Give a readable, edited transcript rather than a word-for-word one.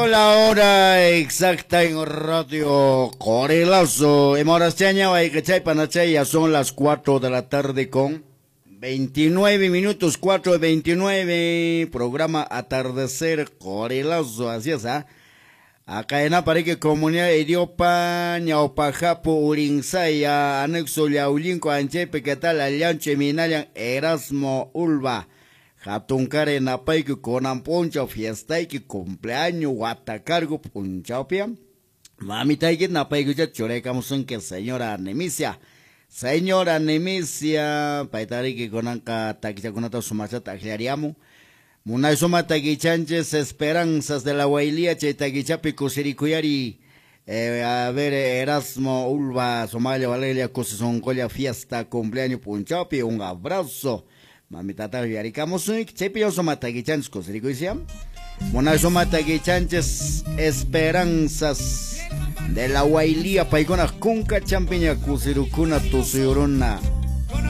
Punto la hora exacta en Radio Corelazo. Emorachaña, ya son las 4 de la tarde con 29 minutos, 4:29. Programa Atardecer Corelazo. Así es, ¿ah? Acá en Apareque, Comunidad Idiopa, Ñaupajapo, Urinsaya, Anexo Yaulinco, Anchepe, ¿qué tal? Allanche, Minayan, Erasmo, Ulva. Hatunkare napayki kunan p'unchaw fiestayki cumpleaños watakargu p'unchawpi mamitayki napaykucha churaykamusunki señora Nemisia. Señora Nemisia, paytariki kunanqa takichakunata sumachata akllariamun. Munay suma takichanchis Esperanzas de la Huaylía chay takichapi kusirikuyari. A ver, Erasmo Ulva, Somalia, Valeria, Kusisoncolla, fiesta, cumpleaños p'unchawpi, un abrazo. Mamitata yarikamusunki, chaypi suma takichanchis kusirikuysiam. Munay suma takichanchis Esperanzas de la Huaylía, paykuna kunka champiña kusirukuna tusuyuruna.